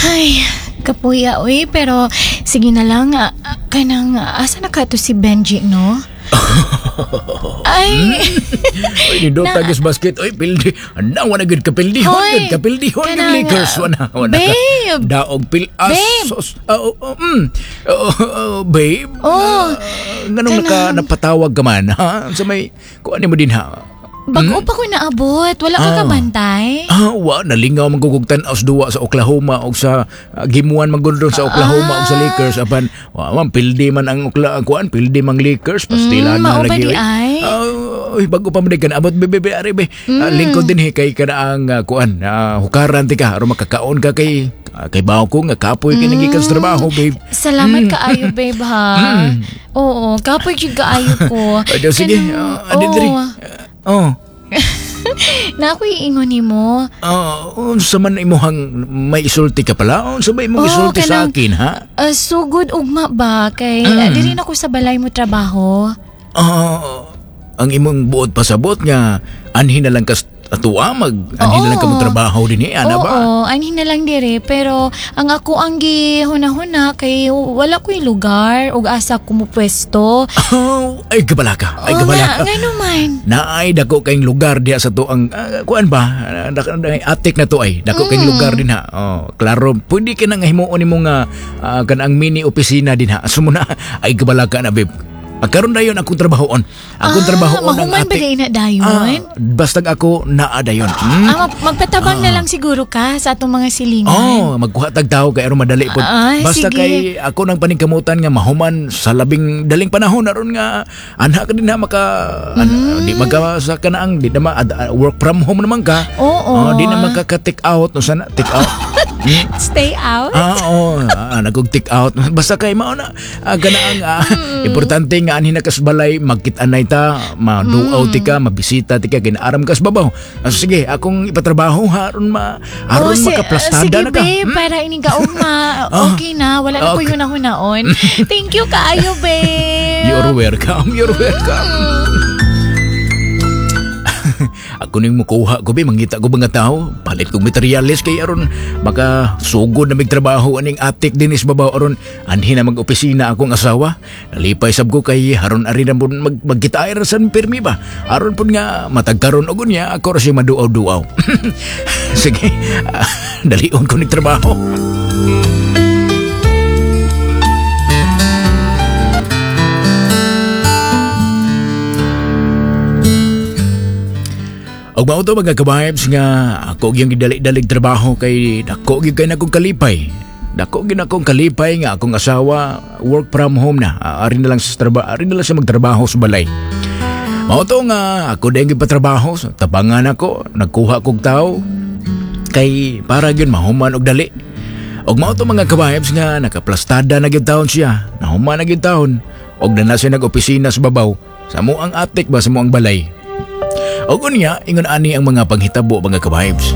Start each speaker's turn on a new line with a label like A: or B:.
A: Ay, kapuya uy, pero sige na lang kanang asa na ka to si Benji, no? Ay,
B: Oy, nindot tagis basket. Oy, pildi. Ana, wala gud kapildi.
A: Hoy,
B: Gud kapildi. Hon gud
A: kanang,
B: Lakers. Wala, wala.
A: babe.
B: Daog pil. Ah,
A: Babe.
B: sos. Ah, oh, oh, Oh, oh, babe.
A: Oh,
B: Nganong napatawag ka man, ha? Sa may, kuan mo din, ha?
A: Bago pa ko naabot, wala ka kabantay?
B: Ah, wa nalingaw man gugug tan-aw sa duwa sa Oklahoma og sa gimuan man gud sa Oklahoma og sa Lakers apan wa man pildi man ang Okla kuan pildi mang Lakers pastila na
A: mao ba
B: lagi
A: di
B: oy.
A: ay?
B: Ah, oy, bago pa man ka naabot bebe be ari be. Lingkod din he kay kana ang kuan hukaran ti ka aron makakaon ka kay kay bawo ko nga kapoy kay nagikan sa trabaho, babe.
A: Salamat kaayo, babe, ha. Oo, kapoy jud kaayo ko.
B: Ay, daw, sige.
A: Kanang-
B: Adi diri.
A: oo.
B: Oh.
A: Na ako'y ingon nimo.
B: Unsa man imuhang may isulti ka pala? Unsa ba imong
A: Oo,
B: isulti sa
A: kanang-
B: akin, ha?
A: Sugod ugma ba kay diri na ko sa balay mo trabaho.
B: Ang imong buot pasabot nga anhin na lang kas atuwa mag anhin na lang ka
A: Oo.
B: mo trabaho din eh, ana ba?
A: Oo, anhin na lang dire pero ang ako ang gihuna-huna kay wala ko'y lugar ug asa ko mo pwesto.
B: Oh, ay gabala ka. Ay
A: Oo
B: gabala
A: nga,
B: ka.
A: ngano man.
B: Naay dako kayong lugar diha sa to ang kuan ba? Attic na to ay. Dako kayong lugar din ha. Oh, klaro pwede ka na nga himuon nimo nga kanang mini opisina din ha. Sumuna ay gabala ka na, babe. Karon dayon akong trabahoon. Akong trabahoon ang
A: mahuman ba
B: attic.
A: na dayon?
B: Bastag ako naa dayon.
A: Magpatabang na lang siguro ka sa atong mga silingan.
B: Oh, magkuha tag tao kay aron madali pod.
A: Ah,
B: Basta
A: sige.
B: kay ako nang paningkamutan nga mahuman sa labing daling panahon aron nga anak ka din na maka di magka sa kanaang di na work from home naman ka.
A: Oo.
B: Oh, di na makaka take out no sana take out.
A: Stay out?
B: Oo, nagog take out. Basta kay mao na kanaang importante nga anhin na kas balay magkit-anay ta, maduaw ti ka, mabisita ti ka kinaaram kas babaw. Sige, akong ipatrabaho ha aron ma aron
A: Oh,
B: makaplastada
A: sige,
B: na ka.
A: babe, para ining ka ugma. Okay na, wala na ko
B: Okay.
A: yun nahunaon. Thank you kaayo, babe.
B: You're welcome. You're welcome. Ako ning mukuha ko be, mangita ko mga tao, palit kog materials kay aron maka sugod na mig trabaho aning attic din is babaw aron anhi na mag-opisina akong asawa. Nalipay sab ko kay aron ari na pud magkitaay ra sa pirmi ba. Aron pud nga matagkaron og unya ako ra siya maduaw-duaw. Sige, dalion ko ning trabaho. Og mao to mga ka-vibes nga ako gyud gidali-dalig trabaho kay dako gyud kay nakong kalipay. Dako gyud akong kalipay nga akong asawa work from home na. Ari na lang sa trabaho, ari na lang siya magtrabaho sa balay. Mao to nga ako dayong gipatrabaho, so, tabangan ako, nagkuha kog tawo kay para gyud mahuman og dali. Og mao to mga ka-vibes nga nakaplastada na gyud taon siya, nahuman na gyud taon og na siya nag-opisina sa babaw sa mo ang attic ba sa mo ang balay. Og unya, ingon ani ang mga panghitabo mga ka-vibes.